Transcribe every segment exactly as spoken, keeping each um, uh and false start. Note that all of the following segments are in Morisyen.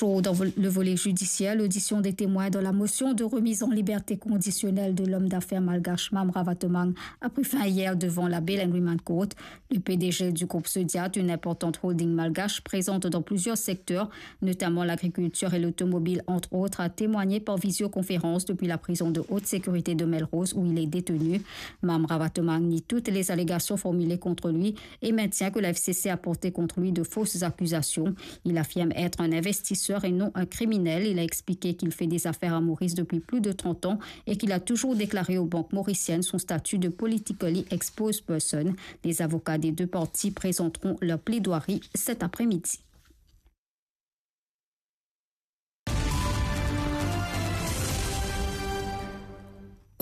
Toujours dans vo-, le volet judiciaire, l'audition des témoins dans la motion de remise en liberté conditionnelle de l'homme d'affaires malgache Mam Ravatomang a pris fin hier devant la Bail and Remand Court. Le P D G du groupe Sodiat, une importante holding malgache présente dans plusieurs secteurs, notamment l'agriculture et l'automobile, entre autres, a témoigné par visioconférence depuis la prison de haute sécurité de Melrose où il est détenu. Mam Ravatomang nie toutes les allégations formulées contre lui et maintient que la F C C a porté contre lui de fausses accusations. Il affirme être un investisseur et non un criminel. Il a expliqué qu'il fait des affaires à Maurice depuis plus de trente ans et qu'il a toujours déclaré aux banques mauriciennes son statut de politically exposed person. Les avocats des deux parties présenteront leur plaidoirie cet après-midi.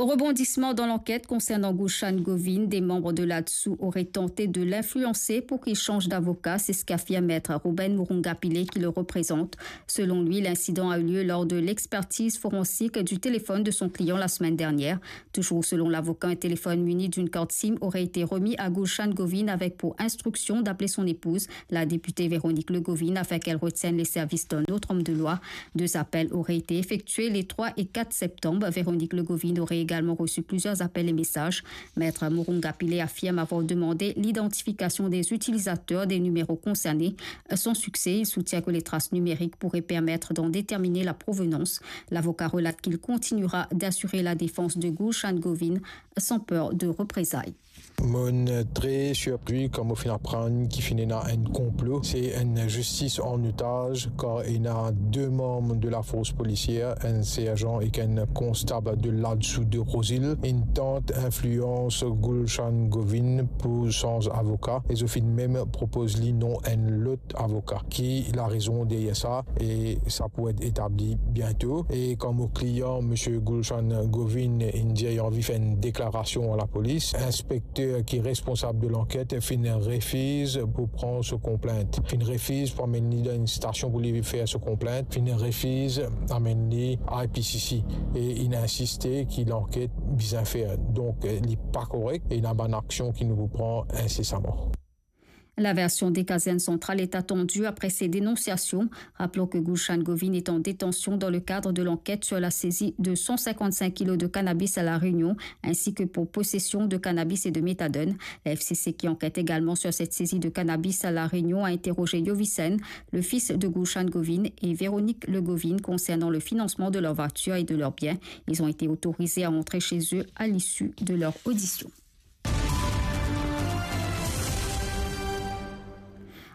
Rebondissement dans l'enquête concernant Gulshan Govin, des membres de l'ADSOU auraient tenté de l'influencer pour qu'il change d'avocat, c'est ce qu'affirme maître Ruben Murunga Pillay qui le représente. Selon lui, l'incident a eu lieu lors de l'expertise forensique du téléphone de son client la semaine dernière. Toujours selon l'avocat, un téléphone muni d'une carte SIM aurait été remis à Gulshan Govin avec pour instruction d'appeler son épouse, la députée Véronique Le Govin, afin qu'elle retienne les services d'un autre homme de loi. Deux appels auraient été effectués les trois et quatre septembre. Véronique Le Govin aurait également reçu plusieurs appels et messages. Maître Murunga Pillay affirme avoir demandé l'identification des utilisateurs des numéros concernés. Sans succès, il soutient que les traces numériques pourraient permettre d'en déterminer la provenance. L'avocat relate qu'il continuera d'assurer la défense de Gulshan Govin sans peur de représailles. Mo'nn tre sirpri kan mo finn aprann ki finn ena enn konplo. Se enn zistis an otaz, kar ena de manm de lafors polisier, enn serzan ek enn konstab de l'ADSOU de Rouzil, inn tant inflians Gulshan Govin pou sanz avoka, e zot finn mem propoz li non enn lot avoka. Ki larezon deryer sa? E sa pou et etabli biento. E kan mo klian, misie Gulshan Govin, inn dir li anvi fer enn deklarasion a lapolis, inspekter ki responsab de lanket finn refiz pou pran so konplint, finn refiz pou amenn li dan enn stasion pou li fer so konplint, finn refiz amenn li I P C C, e inn insiste ki lanket bizin fer. Donk, li pa korek e ena bann aksion ki nou pou pran insesaman. La version des casernes centrales est attendue après ces dénonciations. Rappelons que Gulshan Govin est en détention dans le cadre de l'enquête sur la saisie de cent cinquante-cinq kilos de cannabis à La Réunion, ainsi que pour possession de cannabis et de méthadone. La F C C, qui enquête également sur cette saisie de cannabis à La Réunion, a interrogé Yovissen, le fils de Gulshan Govin, et Véronique Le Govin concernant le financement de leur voiture et de leurs biens. Ils ont été autorisés à entrer chez eux à l'issue de leur audition.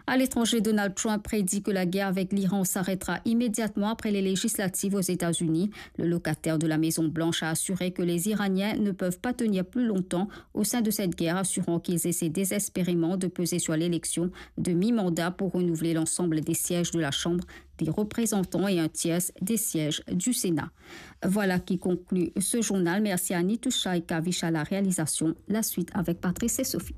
À l'étranger, Donald Trump prédit que la guerre avec l'Iran s'arrêtera immédiatement après les législatives aux États-Unis. Le locataire de la Maison Blanche a assuré que les Iraniens ne peuvent pas tenir plus longtemps au sein de cette guerre, assurant qu'ils essaient désespérément de peser sur l'élection de mi-mandat pour renouveler l'ensemble des sièges de la Chambre des représentants et un tiers des sièges du Sénat. Voilà qui conclut ce journal. Merci à Nitoucha et Kavish à la réalisation. La suite avec Patrice et Sophie.